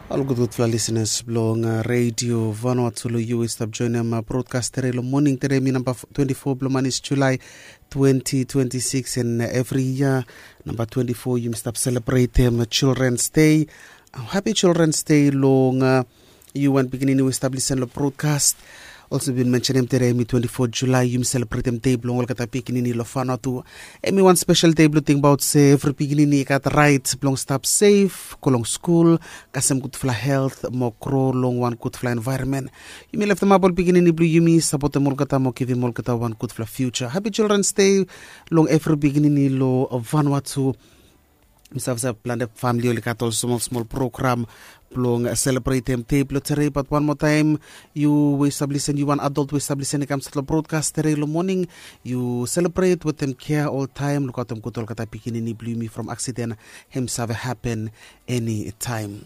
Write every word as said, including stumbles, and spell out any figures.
Ol gudgudfala lisenas blong redio Vanuatu long yu i stap joinim brodkas tere long moning tere mi namba twenty four blong manis Julai twenty twenty six, en evri yia namba twenty four yumi stap selebretim Children's Day. Happy Children's Day long yu wan pikinini we i stap lisen long brodkas. Olsem bin mensenim tede em i twenty four Julai yumi selebretim dei blong olgeta pikinini long Vanuatu. Em i wan spesel dei blong tingbaot se evri pikinini i gat rait blong stap sef, go long skul, kasem gudfala helt mo gro long wan gudfala envaeronmen. Yumi leftemap ol pikinini blong yumi, sapotem olgeta mo givim olgeta wan gudfala fiuja. Happy Children's Day long evri pikinini long Vanuatu. Mi save se plante famili oli gat ol smol smol program blong selebretem dei blong tere, bat wan moa taem, yu we i stap lisen, yu wan adult we i stap lisen i kam stat long brodkas tere long moning, yu selebret wetem kea oltaem. Lukaotem gud olgeta pikinini blong yumi from aksiden hem save hapen eni taem.